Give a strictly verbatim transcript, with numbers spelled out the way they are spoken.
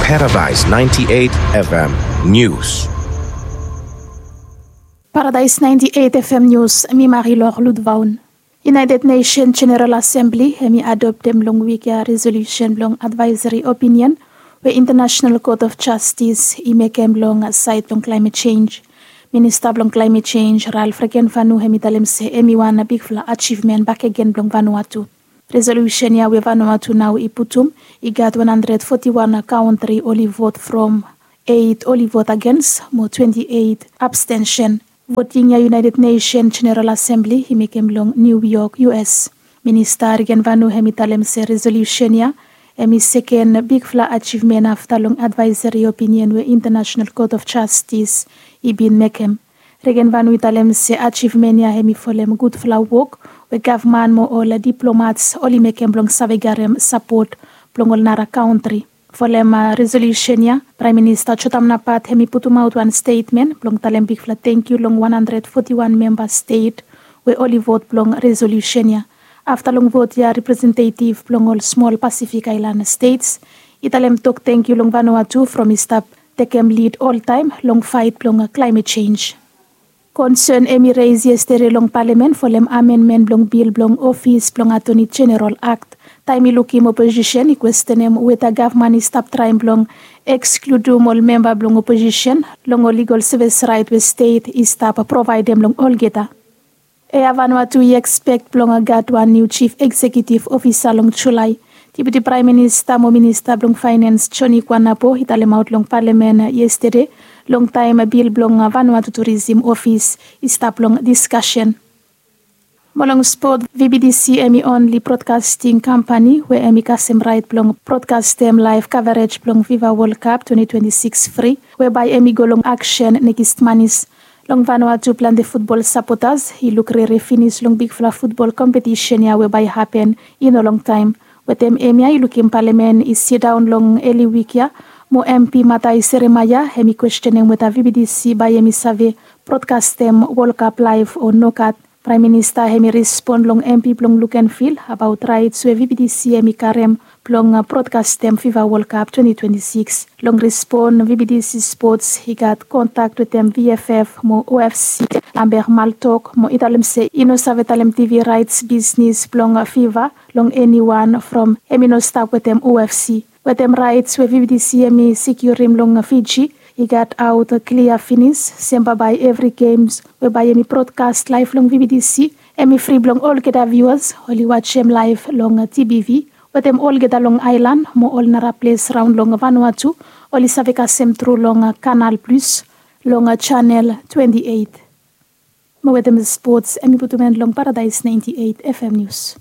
Paradise ninety-eight F M News. Paradise ninety-eight F M News, mi Marilor Ludvaun. United Nation General Assembly hemi adoptem long wik ya resolusen blong advaeseri opinion we International Court of Justice i mekem long saed blong klaemet jenj. Minista blong klaemet jenj Ralph Regenvanu hemi talem se hemi wan bigfala ajivmen bakegen blong Vanuatu. Resolusen ya we Vanuatu nao i putum i gat wan handred foti wan kaontri oli vot from, eit oli vot agens mo twenti eit abstensen. Voting ya United Nation General Assembly i mekem long New York, U S. Minista Regenvanu hemi talem se resolusen ya hemi seken bigfala ajivmen afta long advaeseri opinion we International Court of Justice i bin mekem. Regenvanu i talem se ajivmen ya hemi folem gudfala wok we gavman mo ol diplomats oli mekem blong save garem sapot blong ol nara kaontri. Folem resolusen ya, Praem Minista Jotam Napat hemi putumaot wan stetmen blong talem bigfala tangkiu long wan handred foti wan memba stet we oli vot blong resolusen ya. Afta long vot ya, representetiv blong ol smol Pasifik aelan stets i talem tok tangkiu long Vanuatu from i stap tekem lid oltaem long faet blong klaemet jenj. Konsen hemi reis yestede long palamen folem amenmen blong bil blong ofis blong Atoni Jeneral Akt. Taem i lukim oposisen i kwestenem weta gavman i stap traem blong ekskludum ol memba blong oposisen long ol ligol sevis raet we stet i stap provaedem long olgeta. Air Vanuatu i ekspek blong gat wan niu jif eksekiutiv ofisa long Julae. Diputi Praem Minista mo Minista blong Faenens Joni Kuanapo i talemaot long palamen yestede long taem bil blong Vanuatu Turisim Ofis i stap long diskasen. Mo long spot, V B T C hemi onli brodkasting kampani we hemi kasem raet blong brodkastem laef kavarej blong Fifa Wol Kap twenti twenti sikis fri, we bae hemi go long aksen nekis manis. Long Vanuatu plante futbol sapotas i luk rere finis long bigfala futbol kompetisen ya we bae hapen i no longtaem. Wetem hemia i lukim palamen i sidaon long eli wik ya, mo M P Matai Seremaia hemi kwestenem weta V B T C bae hemi save brodkastem Wol Kap laef o nogat. Praem Minista hemi respon long M P blong Lukenvil abaot raets we V B T C hemi karem blong brodkastem Fifa Wol Kap twenti twenti sikis. Long respon, V B T C Spots i gat kontak wetem V F F mo O F C, Lambert Maltok, mo i talem se i no save talem T V raets bisnis blong Fifa long eniwan from hemi no stap wetem O F C. Wetem raets we V B T C hemi sekiurim long Fiji i gat aot klia finis, sem bambae evri gems we bae hemi brodkas laef long V B T C hemi fri blong olgeta viuas oli wajem laef long T B V. Wetem olgeta long aelan mo ol nara ples raon long Vanuatu oli save kasem tru long Canal Plus long Channel twenti eit. Mo wetem spots hemi putum en long Paradise ninety-eight F M News.